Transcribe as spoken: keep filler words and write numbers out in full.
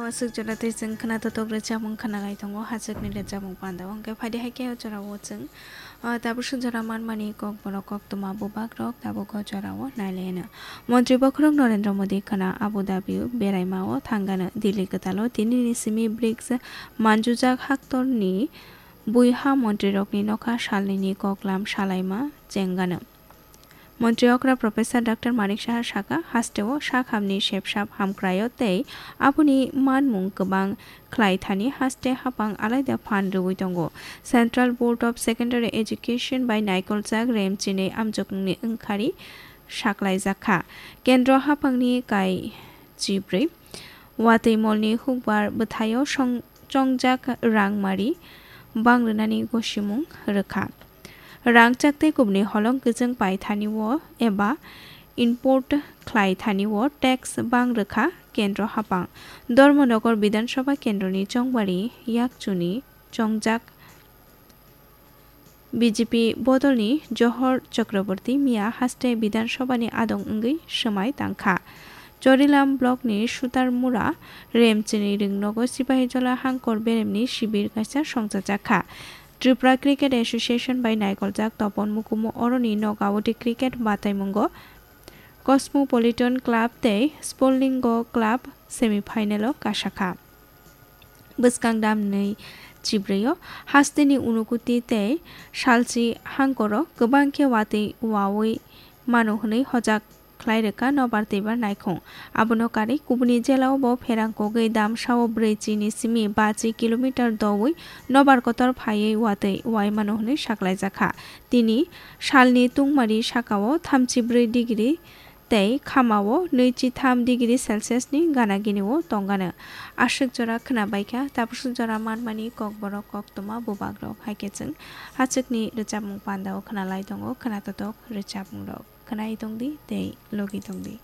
Aswk jora tei chwng khna totok rwchapmung khna lai tongo, hachwkni rwchapmung panda o. Hwnkhe phaidi hai khe o jora o chwng, ah, tabuk swk jora manmani kok borok koktwma bubak rok tabuk o jora o nai lai anw. Montri bokhorok Narendra Modi khna Abu Dhabi o beraima o thang anw. Delhi kwtal o tini ni simi brics manjujak haktor ni bui ha montri rok ni nokha salni ni koklam salaima cheng anw. Montri okra Professor Doctor Manik Saha saka, haste o sak hamni sepsap hamkrai o tei aboni manmung kwbang khlai thani haste hapang alaida phan rwui tongo. Central Board of Secondary Education bai naikoljak remchinwi amjokni wngkhari saklaijak kha. Kendro hapangni kai chibrwi watwi molni hukbar bwthaio song-, chongjak rangmari bang rwnani gosimung rwkha. Rangchak tei kubuni holong kwchwng pai thani o eba import khlai thani o tax bang rwkha kendro hapang. Dharmanagar Bidhan Sabha kendroni chongbari yakchuni chongjak B J P bodolni Johor Chakraborty miya haste Bidhan Sabhani adong wngwi swmai tangkha. Chorilam blockni Sutarmura remchini ringnogo Sipahijola hangkor beremni sibir kaisa songchajak kha. Tripura Cricket Association bai naikoljak topon mukumu oroni nokawti cricket bataimungo Cosmopolitan Club tei Sportlingo Club semi-final o kasakha. Bwskang damni chibrwi o hasteni unukuti tei salchi hangkoro kwbang khe watwi wawi mano hwnwi hojak khlai rwkha nobar twibar naikhung. Abono karwi kubuni jela o bo pherang kogwi damsa o brwi chini simi bachi kilometer doui nobar kotor phaiwi watwi wai mano hwnwi saklaijakha. Tini salni tungmari saka o thamchi brwi degree tei khama o nui chi tham degree Celsius ni gana gini o tongano. Aswk jora khwna baikha, tabuk swk jora manmani kokborok koktwma bubak rok. Hai khe chwng hachwkni rwchapmung panda o khwna lai tongo, khwna totok rwchapmung rok khwnai tongdi tei logi tongdi.